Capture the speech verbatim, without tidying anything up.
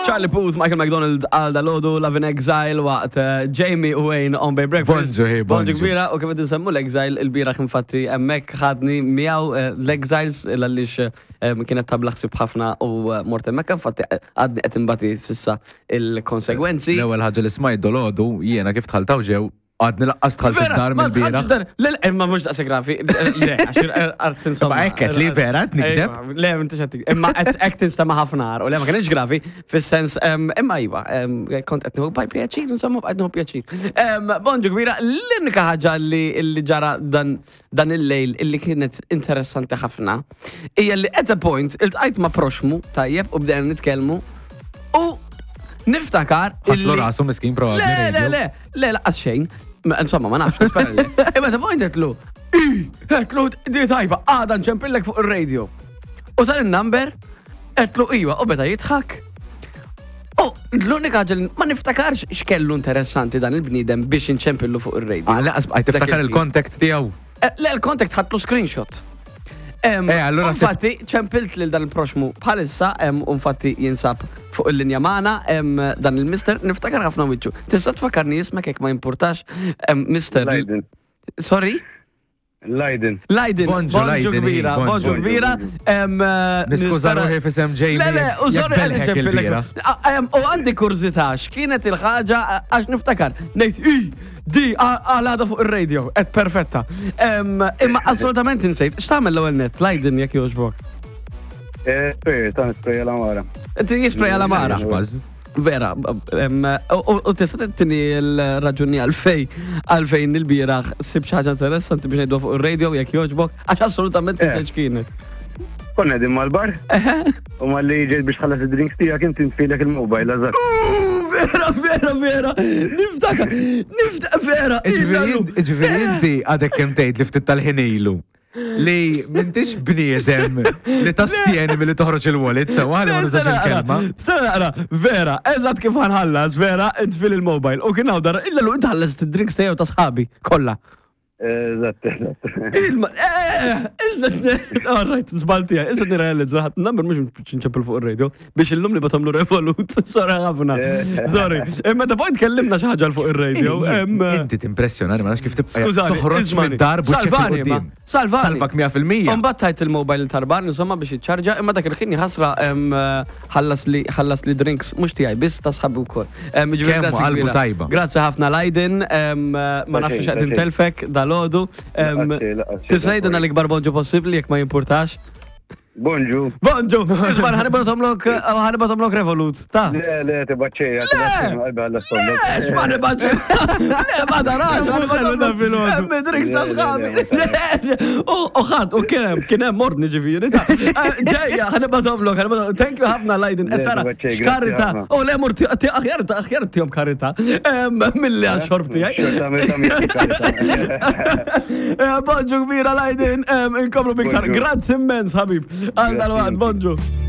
Charlie Puth, Michael McDonald, għal dalgħodu, Love in Exile, waqt eh, Jamie u Wayne on Bay Breakfast. Bonġu, hey, Bonġu bonġu. kbira, u kif qed nsemmu l-Exile, il-bieraħ infatti hemmhekk ħadni miegħu eh, l-Exiles għaliex eh, kienet tabla ħsib ħafna u eh, mort hemmhekk, infatti eh, għadni qed imbati s'issa il-konsegwenzi. L-ewwel ħaġa li smajt dalgħodu jiena kif dħalt hawn ġew għadni lanqas dħalt id-dar ma mill-bieraħ. dħaltx id-dar. Le, le, imma mhux daqshekk gravi. Le, għax art insomma. Ma hekk qed li vera qed nikdeb? Ejwa, Le, m'intix qed tikdeb. Imma qed hekk tinstema' ħafna u le ma kienx gravi fis-sens em, imma iva, em, kont qed nieħu baj pjaċir, insomma bqajt nieħu pjaċir. Em, Bonġu kbira, l-unika ħaġa li li ġara dan dan il-lejl illi kienet interessanti ħafna hija li at a point iltqajt ma' proxmu tajjeb u bdejna nitkellmu u niftakar Ħatlu illi- rasu miskin probabbli. Le, le, radio. le, le, lanqas xejn. Ma, Insomma, ma nafx, nispera le. Imma ta' point għedtlu, għedtlu, di tajba, għada nċempillek fuq il-radio. U tal il-number, għedtlu iwa, u beda jidħak. U l-unika ħaġa li ma niftakarx x'kellu interessanti dan il-bniedem biex nċempillu fuq il-radio. Ah, lanqas bqajt tiftakar Dak il-ħin. il-contact tiegħu. Eh, Le, il-contact ħadtlu screenshot. Em, Eh, allura se- Infatti, ċempilt lil dan il-proxmu bħalissa, em, u infatti jinsab fuq il-linja magħna, em, dan il-mister, niftakar ħafna wiċċu. Tista' tfakkarni ismek jekk ma jimpurtax, em, mister. Leiden. Sorry? Leiden. Leiden, Bonġu, bonġu Leiden, kbira, bonġu. bonġu kbira. em, eh, Niskuża nispera- ruħi f'isem Jamie. Le, le, u jekk sorry għalli belħek ċempillek. il-bieraħ. Ah, em, U għandi kurżità, x'kienet il-ħaġa għax niftakar. Ngħid, i, di, għal fuq il-radio, et perfetta. Em, Imma assolutament insejt, x'tagħmel l-ewwel net, Leiden jekk jogħġbok. Eh, Spray, ta' spray l-għamara. Inti jisprejja l-għamara. Baż. Vera, em, u u tista' tini l-raġuni għalfej għalfejn il-bieraħ sib xi ħaġa interessanti biex ngħidu fuq il-radio jekk jogħġbok, għax assolutament Eh. insejt x'kienet. Konna qegħdin mal-bar u malli ġejt biex tħallas id-drinks tiegħek inti ntfilek il-mobile eżatt. Uh, Vera, vera, vera, niftakar, niftakar, vera. Ġifieri ġifieri inti għadek kemm tgħid li ftit tal-ħin ilu li m'intix bniedem li tastjeni milli toħroġ il-wallet sewa li ma nużax il-kelma. Stenna naqra, vera, eżatt kif ħa nħallas, vera, intfil il-mobile. U kien hawn dar, illa lu inti ħallas id-drinks tiegħu ta' sħabi, kollha. Eżatt, eżatt. Ilma, eh, iżet, all right, żbaltija, iżet nirrealizza ħadd number mhux nċempel fuq ir-radio biex illum li batamlu Revolut, sorry ħafna. Sorry. Imma ta' point kellimna xi ħaġa fuq ir-radio. em, Inti timpressjonani, ma nafx kif tibqa' Skużani, toħroġ ismani. mid-dar buċċek Salvani, ma. il-qudiem. Salvani. Salvak mija fil-mija. Mbagħad tajt il-mobile tarban, insomma biex jiċċarġa, imma dak il-ħin ħasra em, ħallas li ħallas li drinks mhux tiegħi biss ta' sħabi wkoll. Em, ġifieri Kemm grazzi qalbu kbira. tajba. Grazzi ħafna Leiden, em, ma nafx xejn, x'qed ta' xejn. intelfek dalgħodu. Em, Laqas xejn, laqas xejn, Tista' jgħidilna l-ikbar bonġu possibbli jekk ma jimpurtax. Bonġu. Bonġu, isma' ħa nibgħathomlok ħa nibgħathomlok Revolut, ta' Le, le, tibgħatx, tibgħatx, qalbi għalla stollok. Ex, ma nibgħatx. Le, ma tarax, ħa nibgħathomlok. Hemm drinks ta' sħabi. U ħadd, u kien hemm, kien hemm ordni ġifieri ta' ġejja, ħa nibgħathomlok, ħa nibgħathomlok. Thank you ħafna Leiden, qed tara Le, tibgħatx, grazzi x'karità. ħafna. U le mur aħjar aħjar tihom karità. Milli għal xorb tiegħi. Xorta meta miegħek karità. Eh, Bonġu kbira Leiden, inkomplu biktar. Bonġu. Grazzi immens, ħabib. Għal dalwaqt, Grazzi. bonġu.